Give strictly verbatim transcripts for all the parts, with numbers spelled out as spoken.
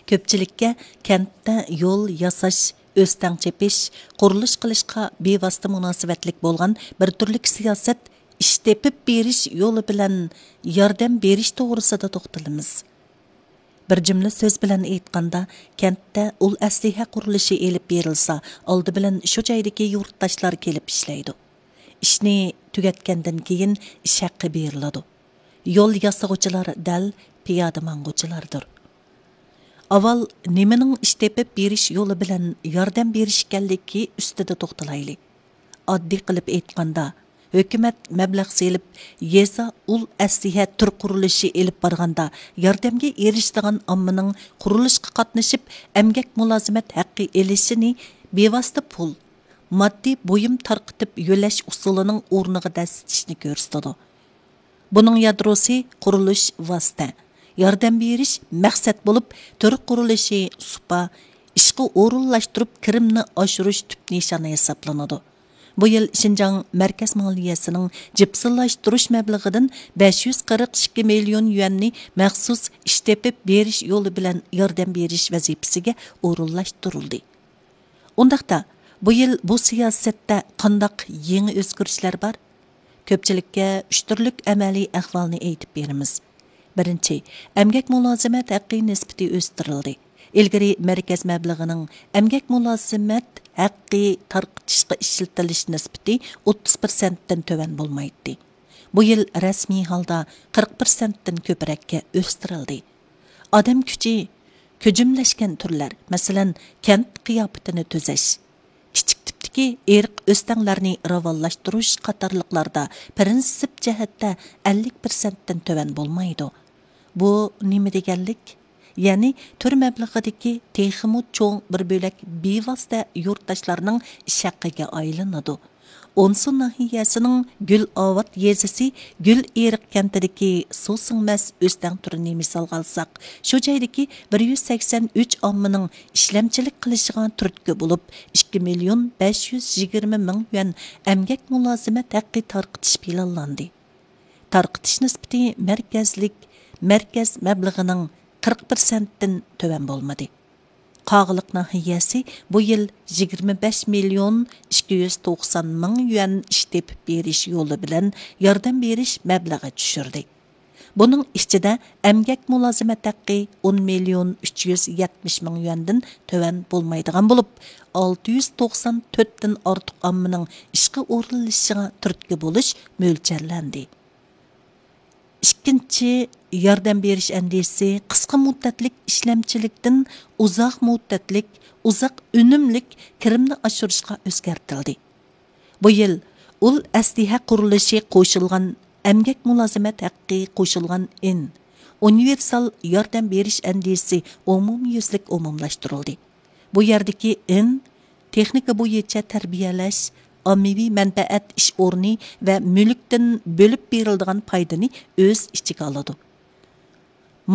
كۆپچىلىككە كەنتتە يول ياساش، ئۆستەڭ چېپىش، قۇرۇلۇش قىلىشقا بىۋاسىتە مۇناسىۋەتلىك بولغان بىر تۈرلۈك سىياسەت، ئىش تېپىپ بېرىش يولى بىلەن ياردەم بېرىش توغرىسىدا توختىلىمىز. بىر جۈملە سۆز بىلەن ئېيتقاندا، كەنتتە ئۇل ئەسلىھە قۇرۇلۇشى ئېلىپ بېرىلسا، ئالدى بىلەن شۇ جايدىكى يۇرتداشلار كېلىپ ئىشلەيدۇ. ئىشنى تۈگەتكەندىن كېيىن ئىش ھەققى بېرىلىدۇ. يول ياسىغۇچىلار دەل پىيادە ماڭغۇچىلاردۇر. ئاۋۋال نېمىنىڭ ئىش تېپىپ بېرىش يولى بىلەن ياردەم بېرىش ئىكەنلىكى ئۈستىدە توختىلايلى. ئاددىي قىلىپ ئېيتقاندا، ھۆكۈمەت مەبلەغ سېلىپ، يېزا ئۇل ئەسلىھە تۈر قۇرۇلۇشى ئېلىپ بارغاندا، ياردەمگە ئېرىشىدىغان ئاممىنىڭ قۇرۇلۇشقا قاتنىشىپ، ئەمگەك مۇلازىمەت ھەققى ئېلىشىنى بىۋاسىتە پۇل، ماددىي بۇيۇم تارقىتىپ يۆلەش ئۇسۇلىنىڭ ئورنىغا دەسسىتىشنى كۆرسىتىدۇ. بۇنىڭ يادروسى قۇرۇلۇش ۋاسىتە، ياردەم بېرىش مەقسەت بولۇپ، تۈر قۇرۇلۇشى سۇپا، ئىشقا ئورۇنلاشتۇرۇپ كىرىمنى ئاشۇرۇش تۈپ نىشانى ھېسابلىنىدۇ. بۇ يىل شىنجاڭ مەركەز مالىيەسىنىڭ جىپسىلاشتۇرۇش مەبلىغىدىن بەش يۈز قىرىق ئىككى مىليون يۈەننى مەخسۇس ئىش تېپىپ بېرىش يولى بىلەن ياردەم بېرىش ۋەزىپىسىگە ئورۇنلاشتۇرۇلدى. ئۇنداقتا، بۇ يىل بۇ سىياسەتتە قانداق يېڭى ئۆزگىرىشلەر بار؟ كۆپچىلىككە ئۈچ تۈرلۈك ئەمەلىي ئەھۋالنى ئېيتىپ بېرىمىز. بىرىنچى، ئەمگەك مۇلازىمەت ھەققى نىسبىتى ئۆستۈرۈلدى. ئىلگىرى مەركەز مەبلىغىنىڭ ئەمگەك مۇلازىمەت ھەققى تارقىتىشقا ئىشلىتىلىش نىسبىتى ئوتتۇز پىرسەنتتىن تۆۋەن بولمايتتى. بۇ يىل رەسمىي ھالدا قىرىق پىرسەنتتىن كۆپرەككە ئۆستۈرۈلدى. ئادەم كۈچى، كۆجۈملەشكەن تۈرلەر، مەسىلەن، كەنت قىياپىتىنى تۈزەش، كىچىك تىپتىكى ئېرىق ئۆستەڭلەرنى راۋانلاشتۇرۇش قاتارلىقلاردا پىرىنسىپ جەھەتتە ئەللىك پىرسەنتتىن تۆۋەن بولمايدۇ. بۇ نېمە دېگەنلىك؟ يەنى تۈر مەبلىغىدىكى تېخىمۇ چوڭ بىر بۆلەك بىۋاسىتە يۇرتداشلارنىڭ ئىش ھەققىگە ئايلىنىدۇ. ئونسۇ ناھىيەسىنىڭ گۈلئاۋات يېزىسى گۈلئېرىق كەنتىدىكى سۇ سىڭمەس ئۆستەڭ تۈرىنى مىسالغا ئالساق، شۇ جايدىكى بىر يۈز سەكسەن ئۈچ ئاممىنىڭ ئىشلەمچىلىك قىلىشىغا تۈرتكە بولۇپ، ئىككى مىليون بەش يۈز يىگىرمە مىڭ يۈەن ئەمگەك مۇلازىمەت ھەققى تارقىتىش پىلانلاندى. تارقىتىش نىسبىتى مەركەزلىك، مەركەز مەبلىغىنىڭ قىرىق پىرسەنتتىن تۆۋەن بولمىدى. قاغىلىق ناھىيەسى بۇ يىل يىگىرمە بەش مىليون ئىككى يۈز توقسان مىڭ يۈەن ئىش تېپىپ بېرىش يولى بىلەن ياردەم بېرىش مەبلىغى چۈشۈردى. بۇنىڭ ئىچىدە ئەمگەك مۇلازىمەت ھەققى ئون مىليون ئۈچ يۈز يەتمىش مىڭ يۈەندىن تۆۋەن بولمايدىغان بولۇپ، ئالتە يۈز توقسان تۆتتىن ئارتۇق ئاممىنىڭ ئىشقا ئورۇنلىشىشىغا تۈرتكە بولۇش مۆلچەرلەندى. ئىككىنچى، ياردەم بېرىش ئەندىزىسى قىسقا مۇددەتلىك ئىشلەمچىلىكتىن ئۇزاق مۇددەتلىك، ئۇزاق ئۈنۈملۈك كىرىمنى ئاشۇرۇشقا ئۆزگەرتىلدى. بۇ يىل ئۇل ئەسلىھە قۇرۇلۇشى قوشۇلغان ئەمگەك مۇلازىمەت ھەققى قوشۇلغان ئىن ئۇنىۋېرسال ياردەم بېرىش ئەندىزىسى ئومۇميۈزلۈك ئومۇملاشتۇرۇلدى. بۇ يەردىكى ئىن تېخنىكا بويىچە تەربىيەلەش، ئاممىۋى مەنپەئەت ئىش ئورنى ۋە مۈلۈكتىن بۆلۈپ بېرىلىدىغان پايدىنى ئۆز ئىچىگە ئالىدۇ.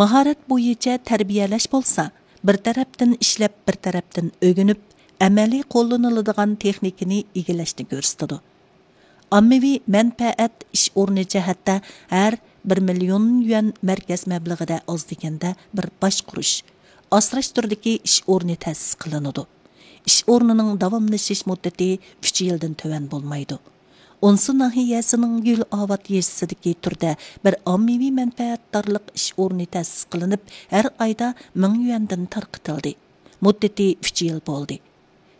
ماھارەت بويىچە تەربىيەلەش بولسا، بىر تەرەپتىن ئىشلەپ، بىر تەرەپتىن ئۆگىنىپ، ئەمەلىي قوللىنىلىدىغان تېخنىكىنى ئىگىلەشنى كۆرسىتىدۇ. ئاممىۋى مەنپەئەت ئىش ئورنى جەھەتتە ھەر بىر مىليون يۈەن مەركەز مەبلىغىدە ئاز دېگەندە بىر باشقۇرۇش، ئاسراش تۈرىدىكى ئىش ئورنى تەسىس قىلىنىدۇ. ئىش ئورنىنىڭ داۋاملىشىش مۇددىتى ئۈچ يىلدىن تۆۋەن بولمايدۇ. ئونسۇ ناھىيەسىنىڭ گۈلئاۋات يېزىسىدىكى تۈردە بىر ئاممىۋى مەنپەئەتدارلىق ئىش ئورنى تەسىس قىلىنىپ، ھەر ئايدا مىڭ يۈەندىن تارقىتىلدى. مۇددىتى ئۈچ يىل بولدى.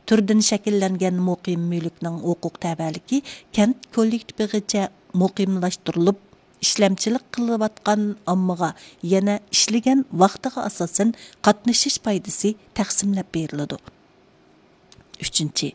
تۈردىن شەكىللەنگەن مۇقىم مۈلۈكنىڭ ھوقۇق تەۋەلىكى كەنت كوللېكتىپىغىچە مۇقىملاشتۇرۇلۇپ، ئىشلەمچىلىك قىلىۋاتقان ئاممىغا يەنە ئىشلىگەن ۋاقتىغا ئاساسەن قاتنىشىش پايدىسى تەقسىملەپ بېرىلىدۇ. ئۈچىنچى،